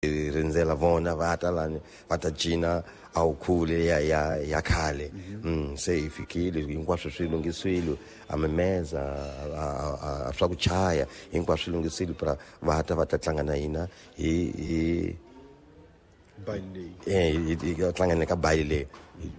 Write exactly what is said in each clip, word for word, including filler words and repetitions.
Rindzela vona va ta lani va ta cina a wu khule ya ya ya khale. Mm, se hi fikile hinkwaswo swi lunghisiwile, a mimeza a swa ku chaya hinkwaswo swi lunghisile pra va ta va ta tlanga na hina hi hi baile eh hi tlanga na ka baile leyi.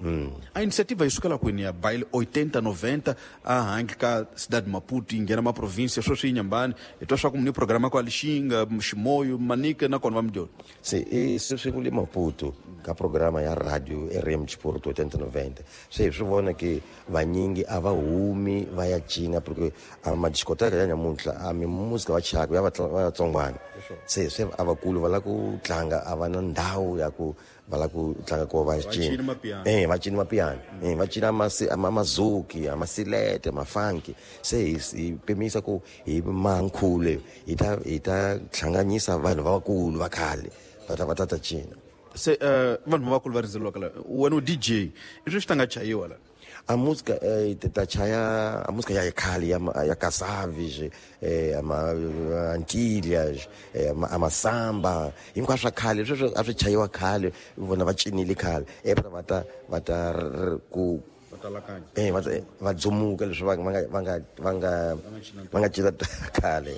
Mm. A iniciativa yi sukela kwini ya baile oitenta noventa a handle ka cidade de Maputo yi nghena maprovíncia sweswi yi Nyambani hi twa swa ku muni programa kwa Lixinga Ximoyo Manica na kona va Mdyoni se i sweswi ku le Maputo ka programa ya radio R M Sport oitenta noventa se hi swi vona ke vanyingi a va humi va ya cina porque a madiscoteca ya nyamuntlha a mimusika va chaka ya vatsongwana se se a vakulu va lava ku tlanga a va na ndhawu ya ku va lava ku tlanga ko va cina eh va cina mapiano eh va cina mazuki amasilete mafanki se hi pimisa ku hi mankhule hi ta hi ta hlanganyisa vanhu va vakulu va khale va ta va ta ta cina se vanhu va vakulu va rindzeriwaka la wena u D J i swi ta nga chayiwa la a música eh ta chaya a música ya khale ya ya Casaves eh ama Antilhas eh ama samba hinkwaswo khale sweswo a swi chayiwa khale vona va cinile khale eh va ta va ta ku eh va va dzumuka leswi va nga va nga va nga va nga cina khale.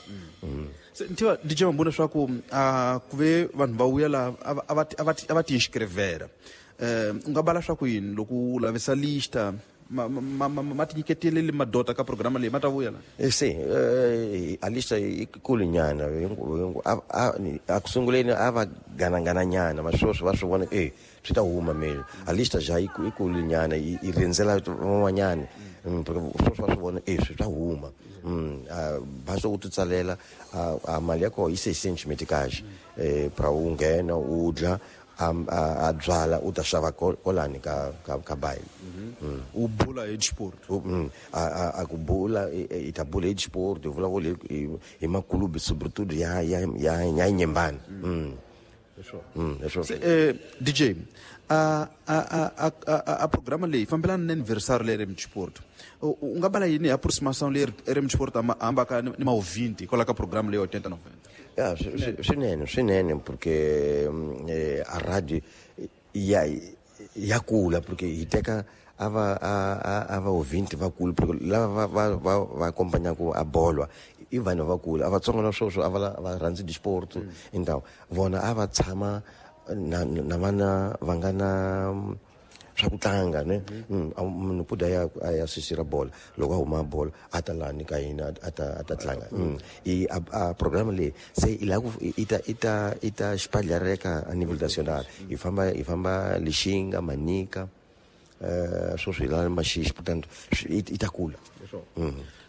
Se ntiwa D J Mabunda swa ku a ku ve vanhu va vuya la a va a va a va ti inscrevera eh u nga bala swa ku yini loko u lavisa lista ma ma ma ti nyiketeleli madota ka programa leyi ma ta vuya la eh sim a lista yi kulu nyana a ku sunguleni a va ganangana nyana ma sweswi va swi vona eh swi ta huma mele a lista ja yi kulu nyana yi rindzela van'wanyana sweswi va swi vona eh swi ta huma basta u ti tsalela a mali ya kona yi seiscentos meticais eh pra u nghena u dla a byala u ta xava kolani ka ka ka baile u bula hi sport a a ku bula i ta bula hi sport u vulavula hi makulubi sobretudo ya ya ya ya Nyembani. Se eh D J a a a a a programa leyi fambelana na aniversário le R M Sport u nga bala yini aproximação le R M Sport amba ka ni maouvinte kwala ka programa leyi oitenta noventa Ya, swinene swinene porque a radio ya ya kula porque hi teka a va a va ouvinte va kula porque lava va va va acompanhaka a bola i vanhu va kula a vatsongo na sweswo a va va rhandzi disport então vona a va tshama na na vana va nga na swa ku tlanga ne munhu puda ya ya sisira bola loko a huma bola a ta lani ka hina a ta a ta tlanga i a programa leyi se i la ku i ta i ta i ta espalhareka a nível nacional hi famba hi famba Lixinga Manica eh sweswi hi la Maxixi portanto i ta kula.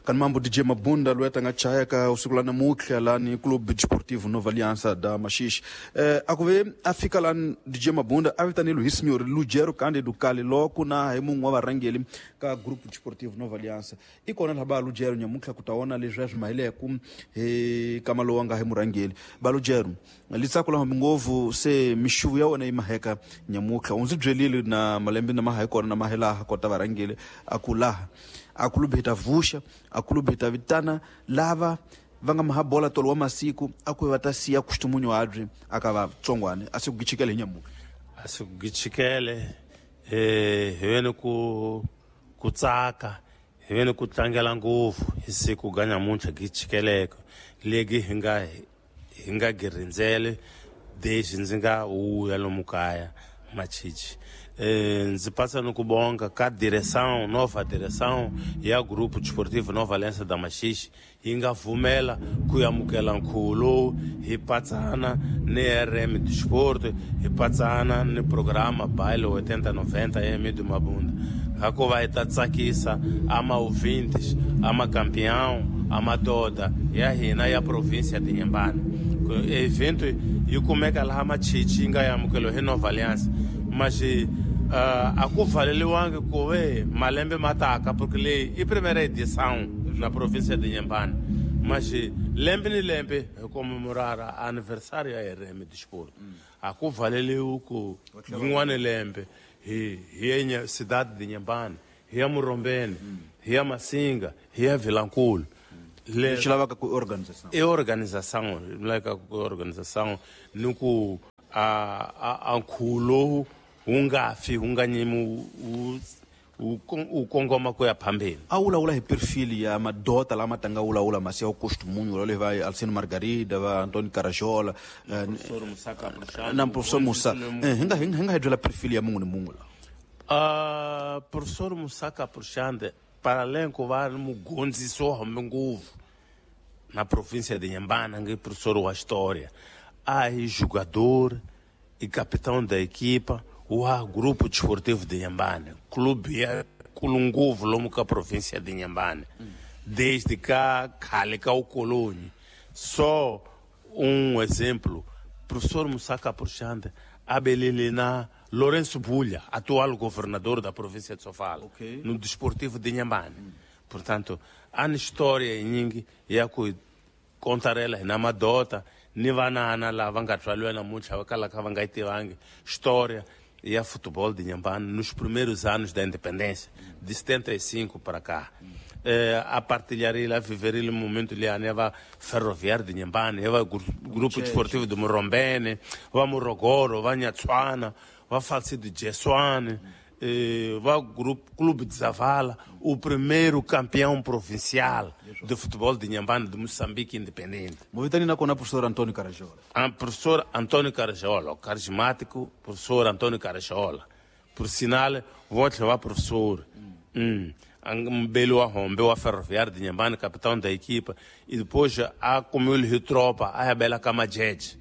Kan mambo D J Mabunda loyi a ta nga chaya ka usiku la namuntlha lani Clube Desportivo Nova Aliança da Maxixe eh a ku ve a fika lani D J Mabunda a vitanile hi senhor Lugero Cândido Kale loko na hi mun'we wa varhangeli ka Grupo Desportivo Nova Aliança i kona laha ba Lugero nyamuntlha ku ta vona leswi a swi mahileku hi kama lowu nga hi murhangeli ba Lugero litsako la ngopfu se mixuvu ya wena yi maheka nyamuntlha u ndzi byelile na malembe na maha kona na mahelaha kota varhangeli a ku laha a clube hi ta vuxa a clube hi ta vitana lava va nga mahabola tolo wa masiku a ku va ta siya kustumunyo adri aka va tsongwane a se ku gichikele hi nyamuka a se ku gichikele eh hi vene ku ku tsaka hi vene ku tlangela ngopfu hi siku ga nyamuntlha gichikeleke legi hi nga hi nga girindzele desde ndzi nga wuya lomu kaya Machichi eh ndzi passa no kubonga ka direção nova direção ya Grupo Desportivo Nova Aliança da Maxixe yi nga vumela ku amukela nkhulo hi patsana ni R M Sport hi patsana ni programa Baile oitenta noventa M do Mabunda hikuva hi ta tsakisa ama ouvintes ama campeão ama toda ya hina ya província de Inhambane evento yi kumeka laha Machichi yi nga amukelo hi Nova Aliança mas uh, a ku valeliwangi ku ve malembe ma taka porque leyi i primeira edição na província de Inhambane mas lembe ni lembe hi comemorara aniversário ya R M Desporto a ku valeliwi ku rin'wana lembe hi hi ya cidade de Inhambane hi ya Murombeni hi ya Masinga hi ya Vilankulu Lexi lavaka ku organização. É organização, lavaka ku organização ni ku a a nkhulo wu nga fi wu nga nyimi wu wu kongoma ku ya phambeni. A wulawula hi perfil ya madota lama tanga wulawula masi ya costumunho lava va Alcino Margarida va Antônio Carajola professor Musa Capuchano na professor Musa hi nga hi nga hi byela perfil ya munhu ni munhu la. Uh, professor Musa Capuchano para além ku va mugondzisi wa hambi ngopfu na província de Inhambane, nge professor wa história, a hi jogador e capitão da equipa wa grupo desportivo de Inhambane, clube ya kulunguvu lomu ka província de Inhambane, desde cá khale ka ukoloni. Só um exemplo, professor Musa Capuchano abelele na Lourenço Bulha, atual governador da província de Sofala, okay, no desportivo de Inhambane. Hum. Portanto, há na história nyingi ya ku contarela na madota ni vanana lava nga tswaliwa namuntlha va kalaka va nga yi tivangi história ya futebol de Inhambane nos primeiros anos da independência, de setenta e cinco para cá. Eh, a partilhar a viver o momento ali, va Ferroviário de Inhambane, va Grupo Desportivo de Morombene, va Morogoro, va Nhatsuana, va Falcido de Jessuane, eh, va Grupo Clube de Zavala, o primeiro campeão provincial de futebol de Inhambane de Moçambique independente. Movitani na kona professor Antônio Carajola. Ah, professor Antônio Carajola, o carismático professor Antônio Carajola. Por sinal, vou te levar professor. Hum. Mbelo Arrombe, o Ferroviário de Inhambane, capitão da equipa, e depois a comeu tropa, a Bela Camajeje.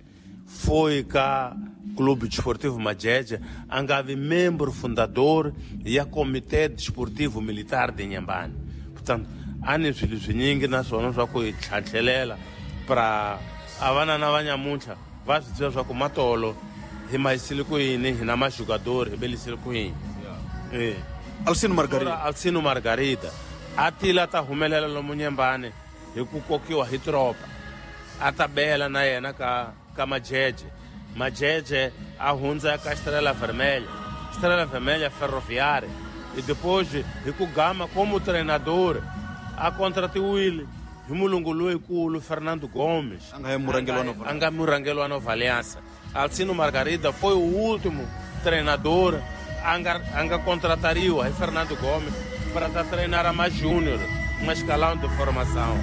Foi cá Clube Desportivo Majeje, angave membro fundador e a Comitê Desportivo Militar de Inhambane. Portanto, há neswilingi naswona swa ku hi tlhantlhelela para a vanana va nyamuntlha va swi tiva swa ku matolo hi mahisile ku yini hi na majogador hi belisile ku yini. Eh. Alcino Margarida. Alcino Margarida a tila ta humelela lomu Nyembane hi ku kokiwa hi tropa a ta bela na yena ka ka Majeje. Majeje a hundza ka Estrela Vermelha, Estrela Vermelha Ferroviária, e depois hi ku gama como treinador a contratuile hi mulungu loyikulu Fernando Gomes, a nga murangeli wa Nova, a nga murangeli wa Nova Aliança. Alcino Margarida foi o último treinador a nga, a nga contratariwa hi Fernando Gomes para ta treinar a mais júnior, uma escalão de formação.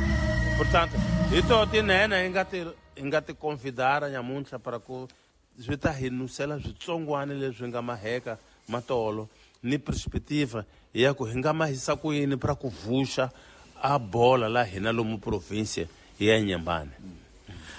Portanto, ito tinene hi nga ti hi nga ti convidar nyamuntlha para ku swi ta hi nusela switsongwana leswi nga maheka matolo ni perspectiva ya ku hi nga mahisa ku yini para ku vuxa a bola la hina lomu província ya Inhambane.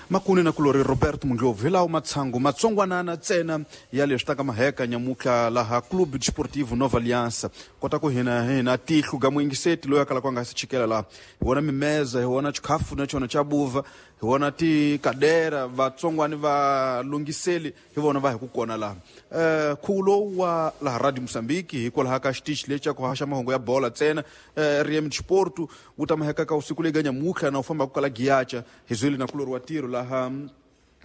Makuni na kulori Roberto Mundlovu hi lawo matshangu matsongwanana ntsena ya leswi taka maheka nyamutlha laha Clube Desportivo Nova Aliança. Kota ku hina hina tihlu ga muyingiseti loyi a kalaka a nga si chikela laha hi vona mimeza, hi vona chikhafu na chona cha buva, hi vona tikadera vatsongwani va lunghiseli hi vona va hi ku kona laha. Eh khulo wa laha Radio Moçambique hikwalaho ka xitichi lexi xa ku haxa mahungu ya bola ntsena R M Desporto wu ta maheka ka usiku leyi ga nyamutlha na u fambaka kala Giacha hi zweli na kulori wa tiro laha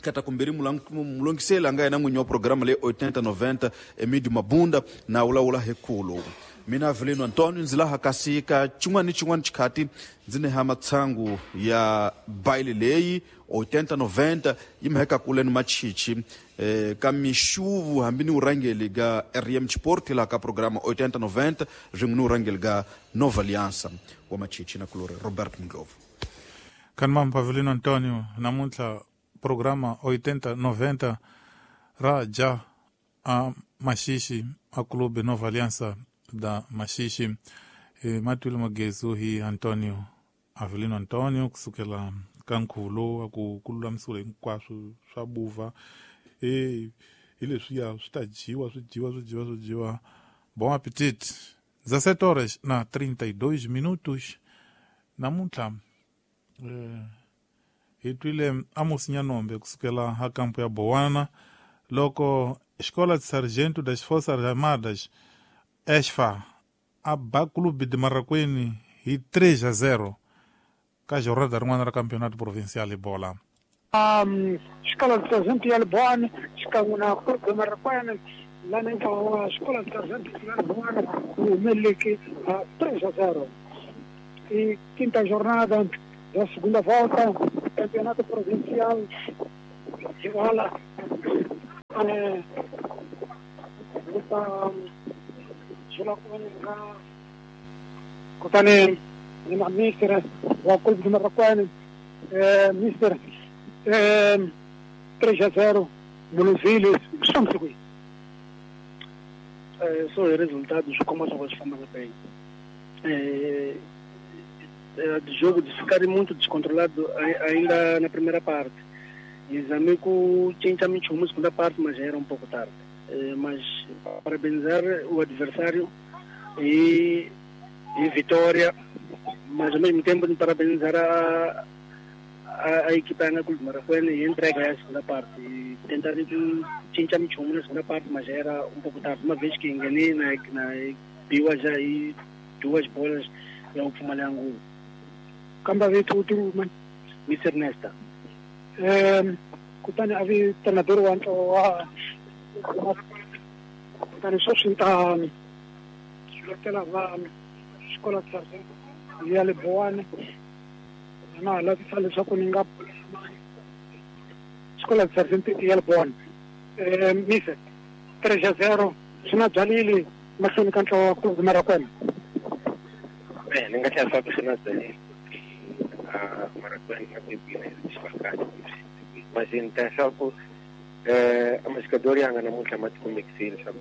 kata kumbiri mulongiseli a nga yena n'winyi wa programa leyi oitenta noventa Emídio Mabunda na wulawula hi khulo. Mina Avelino Antônio ndzi laha kasi ka xin'wana ni xin'wana xikhati ndzi neha matshangu ya baile leyi oitenta noventa yi mheka kule ni machichi eh, ka mixuvu hambi ni urangeli ga R M Sport laha ka programa oitenta noventa swin'we ni urangeli ga Nova Aliança wa machichi na kulori Roberto Mndlovu. Kanmam Avelino Antônio namuntlha programa oitenta noventa ra ja a Maxixe a Clube Nova Aliança da Maxixe. E matwile magezu hi Antônio Avelino Antônio kusukela ka nkhuvo ku ku lulamisiwa hinkwaswo swa buva e hi leswiya swi ta dyiwa swi dyiwa swi dyiwa swi dyiwa. Bom apetite. dezessete horas na trinta e dois minutos namuntlha eh, hi twile Amos Nyanombe kusukela ha kampo ya Bowana loko Escola de Sargento das Forças Armadas ESFA a ba Clube de Marraquene hi três a zero ka jornada rin'wana ra campeonato provincial hi bola. Um, Escola de Sargento ya Bowana xikan'we na Clube de Marraquene lana ntlawa wa Escola de Sargento ya Bowana wu humeleleke três a zero. E quinta jornada da segunda volta do Campeonato Provincial de Bola. Kutani ni ma mister wa Clube de Marraquene, mister três a zero Muluzile, estamos aqui. Só o resultado como as coisas bem. É, é, de jogo de ficar muito descontrolado ainda na primeira parte. E os amigos tinham na segunda parte, mas já era um pouco tarde. É, mas parabenizar o adversário e, e vitória, mas ao mesmo tempo parabenizar a, a, a equipe da Clube de Marraquene e entregar a segunda parte. E tentar tinha na segunda parte, mas já era um pouco tarde. Uma vez que enganei na, na Biwa já e duas bolas e o Fumalangu. Kamba veio o man mister Nesta. Eh, kutani avi treinador wa wa kutani só sinta xilotela va escola de sargento ya le Boane na la tsa leswaku ni nga escola de sargento ya le Boane. Eh, mister três a zero swi na byalile mahlweni ka ntlawa wa Clube de Marraquene. Bem, ni nga tlhela swa ku swi na byalile Marraquene na ku yipina xifakati mas leswaku eh amajogador yanga namuntlha ma tikumekisile leswaku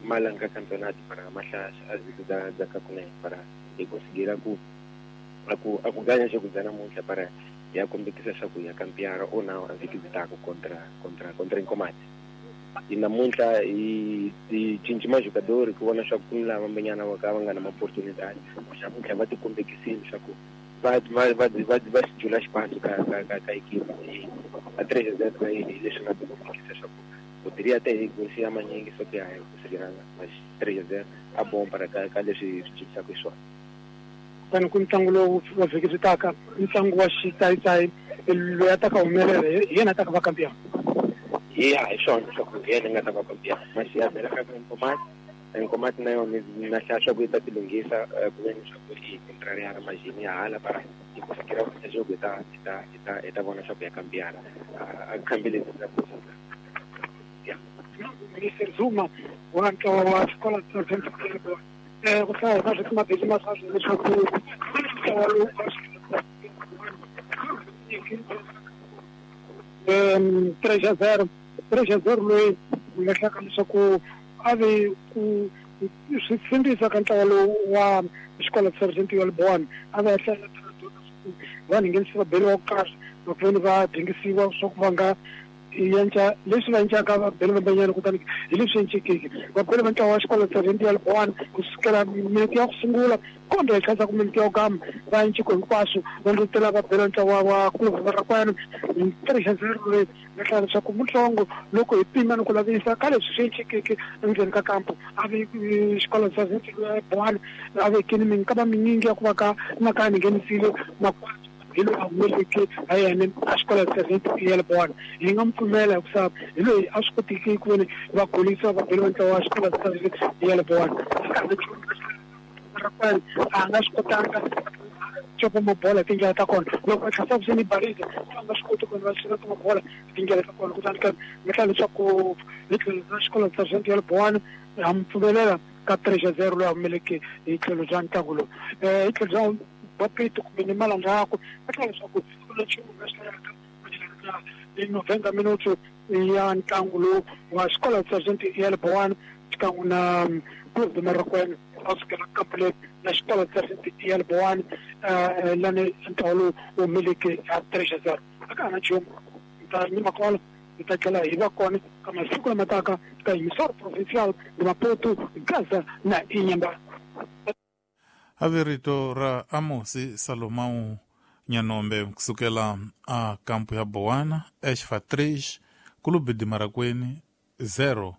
ma langa campeonato para mahlasa aziko da da kakunene para hi conseguir ku aku aku ganha jogo da namuntlha para ya kombekisa leswaku ya campeara ou não a vhiki byi contra contra contra Inkomati. E namuntlha hi hi cinci majogador ku vona leswaku ku ni lava mbenyana va ka va nga na ma-oportunidade namuntlha va tikombekisile leswaku va va va va va xi jula xipano ka ka ka ka equipe a três a zero hi leswi nga tikombekisa leswaku poderia até golse ya manyingi só que a conseguiranga mas três a zero a bom para ka ka leswi swi cincisaka xiswona. Kutani ku ntlangu lowu wa vhiki byi taka ntlangu wa xitsayitsayi loyi a ta ka humelela hi yena a ta ka va campeão. Ya hi swona leswaku hi yena nga ta va campeão mas ya vhela ka Inkomati Inkomati na yona na hlaya swa ku yi ta tilunghisa ku ve ni swa ku yi contrariana majini ya hala para yi conseguir ku jogo ta ta ta ta vona swa ku ya campeana a khambile ta ku Minister Zuma wa ntlawa wa xikolo xa eh ku hlaya na swi mabeli ma swa leswaku ntlawa lowu em três a zero três a zero loyi nga hlaka leswaku a ve ku swi tshembisa ka ntlawa lowu wa xikolo xa Sergeant ya Boane a va hlaya vanhu nghenisa va beliwa kahle loko va dingisiwa swa ku va nga yenca leswi va encaka va bele vambanyana kutani hi leswi encekeke va bele va ntlawa wa xikolo Sergeant ya Boane ku sukela minete ya ku sungula kombe hi tlhantlha ku minete ya ku gama va enciko hinkwaswo va ndlutela va bele ntlawa wa Clube Marraquene três a zero loyi nga hlaya leswaku mutlongo loko hi pima ni ku lavisa ka leswi swi encekeke endzeni ka kampo a ve xikolo Sergeant ya Boane a vekini minkama minyingi ya ku va ka na ka ni nghenisile makwati hi loyi a humeleke ha yena a xikolo Sergeant ya Boane hi nga mu pfumela hikusa hi loyi a swi kotiki ku veni va golisa va bele va ntlawa wa xikolo Sergeant ya Boane a nga swi kotanga copa mabola tindlela ta kona loko va tlhasa vuxeni barisa a nga swi koti ku va xina mabola tindlela ta kona kutani ka nga hlaya leswaku hi tlhelo ra xikolo Sergeant ya Boane ha mu pfumelela ka três a zero loyi a humeleke hi tlhelo bya ntlangu lowu hi tlhelo bya Bapito kumbe ni malandzhaku va tlhela leswaku nchumu nga swi laveka hi noventa minutos ya ntlangu lowu wa xikolo Sergeant ya Boane xikan'we na Clube de Marraquene a sukela kampule na xikolo Sergeant ya Boane lani ntlawa lowu humeleke ya três a zero a ka ha na nchumu ta nyima kona hi ta tlhela hi va kona ka masiku lama taka ka emissora provincial de Maputo Gaza na Inhambane. Averito ra Amosi Salomão Nyanombe kusukela a kampo ya Boana Esfa três Clube de Marraquene zero.